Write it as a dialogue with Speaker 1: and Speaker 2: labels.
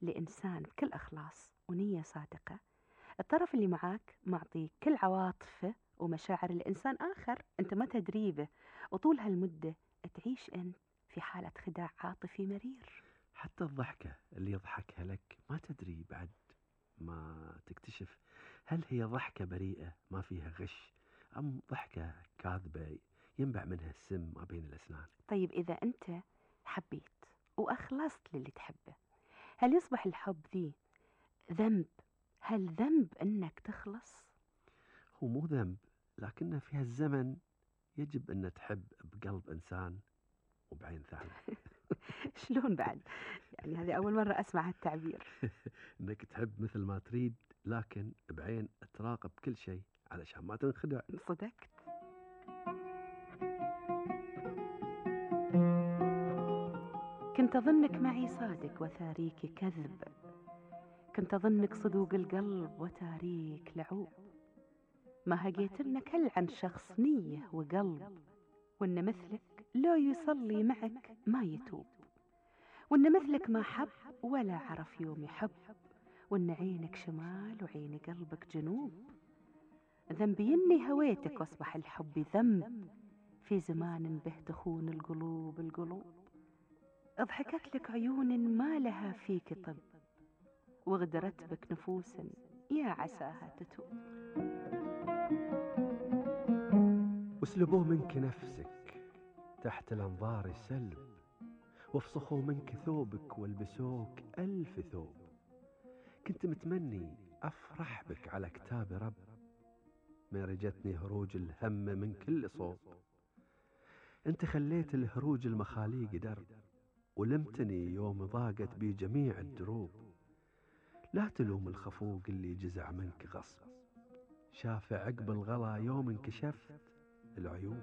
Speaker 1: لإنسان بكل إخلاص ونية صادقة، الطرف اللي معاك معطيك كل عواطفه ومشاعر الإنسان آخر أنت ما تدري به، وطول هالمدة تعيش أنت في حالة خداع عاطفي مرير.
Speaker 2: حتى الضحكة اللي يضحكها لك ما تدري بعد ما تكتشف هل هي ضحكة بريئة ما فيها غش أم ضحكة كاذبة ينبع منها السم ما بين الأسنان.
Speaker 1: طيب إذا أنت حبيت وأخلصت للي تحبه، هل يصبح الحب ذي ذنب؟ هل ذنب أنك تخلص؟
Speaker 2: هو مو ذنب، لكنه في هالزمن يجب أن تحب بقلب إنسان وبعين ثانية.
Speaker 1: شلون بعد؟ يعني هذه أول مرة أسمع هالتعبير.
Speaker 2: أنك تحب مثل ما تريد لكن بعين تراقب كل شيء علشان ما تنخدع.
Speaker 1: صدقت. كنت أظنك معي صادق وتاريك كذب، كنت أظنك صدوق القلب وتاريك لعوب، ما هقيت لنا كل عن شخص نية وقلب، وإن مثلك لو يصلي معك ما يتوب، وإن مثلك ما حب ولا عرف يوم يحب، وإن عينك شمال وعين قلبك جنوب. ذنبي إني هويتك واصبح الحب ذنب في زمان به تخون القلوب. اضحكت لك عيون ما لها فيك طب، وغدرت بك نفوس يا عساها تتوب.
Speaker 2: واسلبوا منك نفسك تحت الأنظار السلب، وافسخوا منك ثوبك والبسوك 1000 ثوب. كنت متمني أفرح بك على كتاب رب، ما رجتني هروج الهم من كل صوب. انت خليت الهروج المخاليق درب، ولمتني يوم ضاقت بي جميع الدروب. لا تلوم الخفوق اللي جزع منك غصب، شاف عقب الغلا يوم انكشفت العيوب.